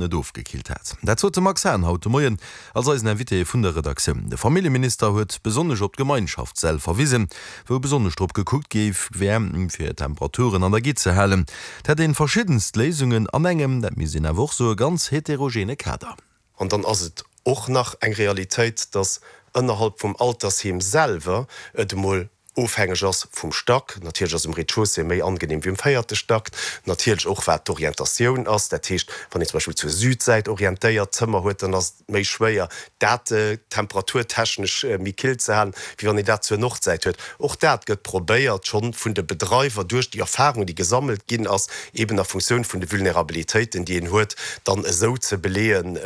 Net ofgekillt hat. Dat sot de Max Hahn haut de Moien als eisen Invité vun der Redaktioun. De Familljeminister huet besonnesch op d'Gemeinschaftssäll verwisen, wou besonnesch drop gekuckt gi wär, fir d'Temperaturen an der Gitt ze halen. Et hätt een verschiddenst Léisungen an engem, dat misst een awer och soen, ganz heterogene Kader. An dann ass et och nach eng Realitéit, dass ënnerhalb vum Altersheem selwer et emol ofhängeg ass vum Stack. Natierlech ass um Rez-de-chaussée méi angenehm wéi um véierte Stack. Natierlech och wat d'Orientatioun ass. Dat heescht, wann een zum Beispill zur Südsäit orientéiert Zëmmer huet, dann ass et méi schwéier dat temperaturtechnesch méi kill ze halen, wéi wann een dat zur Nordsäit huet. Och dat gëtt probéiert schonn vun de Bedreiwer duerch déi Erfahrung, déi gesammelt ginn ass, eben a Funktioun vun de Vulnerabilitéiten, déi een huet, dann esou ze beleeën,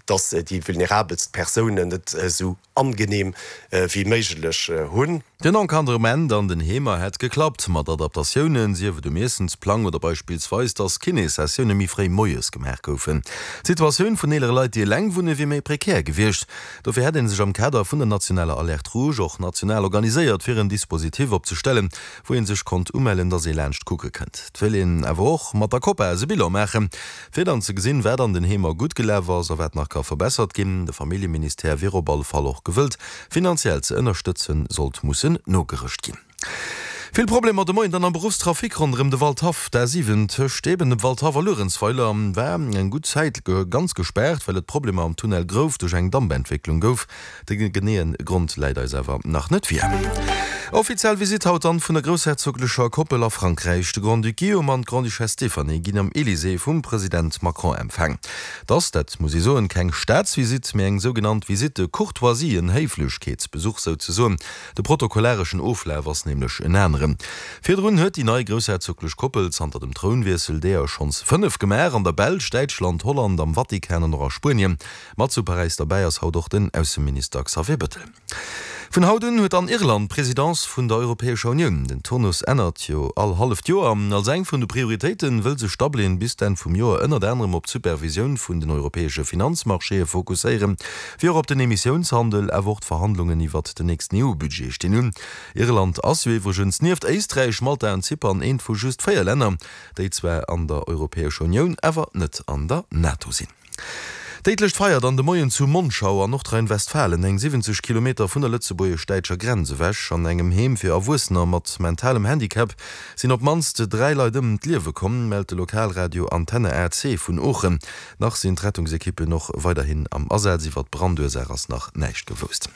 dass déi vulnerabelst Persounen et esou angenehm wéi méiglech hunn. Den Encadrement an den Heemer hätt geklappt, mat Adaptatiounen, sief et um Iessensplang oder beispillsweis, dass Kinéssessioune méi fréi moies gemaach goufen. D'Situatioun vun eelere Leit, déi eleng wunne, wier méi prekär gewiescht. Dofir hätt ee sech am Kader vun der nationaler Alerte rouge och national organiséiert, fir en Dispositif opzestellen, wou ee sech konnt umellen, dass ee laanscht kucke kënnt. Et wéilt een awer och mat der Copas e Bilan maachen, Fir dann ze gesinn, wat an den Heemer gutt gelaf ass a wat nach ka verbessert ginn. De Familljeministère wier op alle Fall och gewëllt, finanziell ze ënnerstëtzen, sollt mussen nogerëscht ginn. Vill Problemer de Moien dann am Beruffstrafic ronderëm de Waldhaff. D'A7 tëscht eben dem Waldhaff a Luerenzweiler war eng gutt Zäit ganz gespaart, well et Problemer am Tunnel Grouf duerch eng Dampentwécklung gouf. De geneeë Grond läit eis awer nach net vir. Offiziell Visitt haut dann vun der groussherzoglecher Koppel a Frankräich. De Grand-Duc Guillaume an d'Grande-Duchesse Stéphanie ginn am Elysée vum President Macron empfaang. Et ass, dat muss ee soen, keng Staatsvisitt, mee eng sougenannt Visite de courtoisie, en Héiflechkeetsbesuch souzesoen. De protokollareschen Oflaf ass nämlech en aneren. Virdrun huet déi nei groussherzoglech Koppel zanter dem Trounwiessel deeër schonns 5 gemaach, an der Belsch, Däitschland, Holland, am Vatikan an och a Spuenien. Mat zu Paräis derbäi ass haut och den Ausseminister Xavier Bettel. Vun haut un huet dann Irland d'Presidence vun der Europäescher Unioun. Den Turnus ännert jo all halleft Joer. Als eng vun de Prioritéite wëll sech Dublin bis d'Enn vum Joer ënnert anerem op d'Supervisioun vun den europäesche Finanzmarchéë fokusséieren, wéi och op den Emissiounshandel. Awer och d'Verhandlungen iwwert den nächsten EU-Budget stinn un. Irland ass jo iwwregens nieft Éisträich, Malta an Zypern eent vu just 4 Länner, déi zwar an der Europäescher Unioun, awer net an der NATO sinn. Déidlecht Feier dann de Moien zu Monschau an Nordrhein-Westfalen, eng 70 Kilometer vun der lëtzebuergesch-däitscher Grenz ewech. An engem Heem fir Erwuessener mat mentalem Handicap sinn op d'mannst 3 Leit ëm d'Liewe komm, mellt de Lokalradio Antenne AC vun Oochen. Nach sinn d'Rettungsekippen och weiderhin am Asaz. Iwwer d'Brandursaach ass nach näischt gewousst.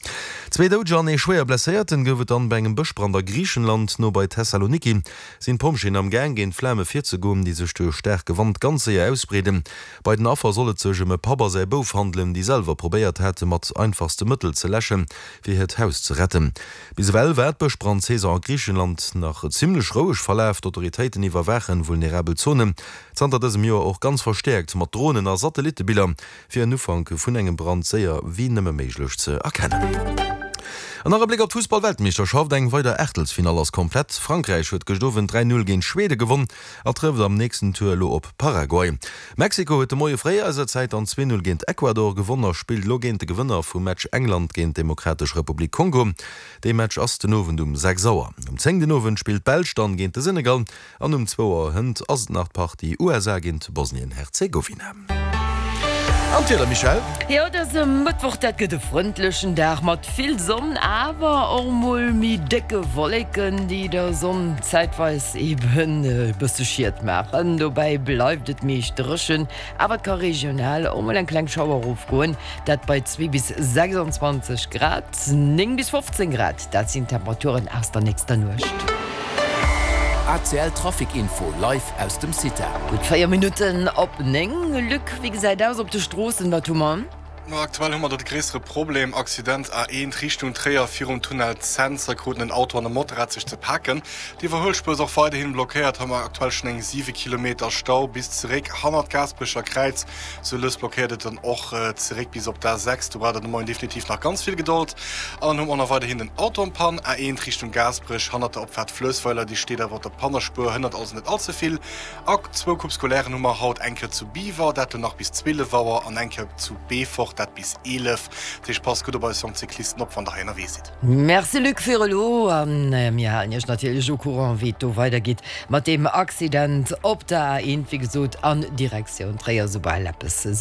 Zwee Doudeger an ee schwéier Blesséierten gouf et dann bei engem Bëschbrand a Griichenland, no bei Thessaloniki. Sinn d'Pompjeeën am Gaang géint d'Flame virzegoen, déi sech duerch staarke Wand ganz séier ausbreeden. Bei den Affer soll et sech ëm e Papp a säi Bouf handelen, déi selwer probéiert hate mat einfachste Mëttel ze läschen, fir hiert Haus ze retten. Bis ewell war d'Bëschbrandsaison a Griichenland nach zimmlech roueg verlaf. D'Autoritéiten iwwerwaachen vulnerabel Zonen zanter dësem Joer och ganz verstäerkt mat Dronen a Satellittebiller, fir en Ufank vun engem Brand séier wéi nëmme méiglech ze erkennen. An nach e Bléck op d'Fussball-Weltmeeschterschaft, Eng weider Aachtelsfinall ass komplett. Frankräich huet gëscht Owend 3, 0 géint Schwede gewonn a trëfft am nächsten Tour elo op Paraguay. Mexiko huet de Moie fréi eiser Zäit dann 2, 0 géint Ecuador gewonn a spillt elo géint de Gewënner vum Match England géint d'Demokratesch Republik Kongo. Dee Match ass den Owend um 6 Auer. Um 10 den Owend spillt d'Belsch dann géint de Senegal. An um zwou Auer hënt ass et nach d'Partie USA géint Bosnien-Herzegowina. An d'Wieder, Michèle? Jo, dëse Mëttwoch, dat gëtt e frëndlechen Dag mat vill Sonn, awer och mol méi décke Wolleken, déi der Sonn zäitweis eben e bësse Schiet maachen. Dobäi bleift et meescht dréchen, awer et ka regional och mol eng kleng Schauer erofgoen, dat bei 2 bis 26 Grad. 9 bis 15 Grad, dat sinn d'Temperaturen aus der nächster Nuecht. ACL Trafic Info live aus dem CITA. Gutt 4 Minutten op 9. Luc, wéi gesäit aus op de Stroossen? Wat hu mer? Ma aktuell hu mer do de gréissere Problem, Accident A1 Richtung Tréier virum Tunnel Cents. Hei kruten en Auto an e Motorrad sech ze paken. D'Iwwerhuelspuer ass och weiderhin blockéiert. Hei hu mer aktuell schonn eng 7 Kilometer Stau bis zeréck hannert d'Gaasperecher Kräiz. Sou lues blockéiert et dann och zeréck bis op d'A6. Do braucht der de Moien definitiv nach ganz vill Gedold. An dann hu mer och nach weiderhin den Auto en Panne, A1 Richtung Gaasperech, hannert der Opfaart Fluessweiler. Déi steet awer op der Pannespuer, hënnert also net all ze vill. A zwou Coupes scolairen hu mer haut, eng Kéier zu Biwer, dat lo nach bis 12 Auer, an eng Kéier zu Beefort, dat bis 11. Dat heescht, passt gutt op eis jonk Cyclisten op, wann der hei ënnerwee sidd. Merci Luc fir elo an mir halen Iech natierlech au courant wéi et do weidergeet mat deem Accident op der A1, wéi gesot an Direktioun Tréier, soubal eppes sech.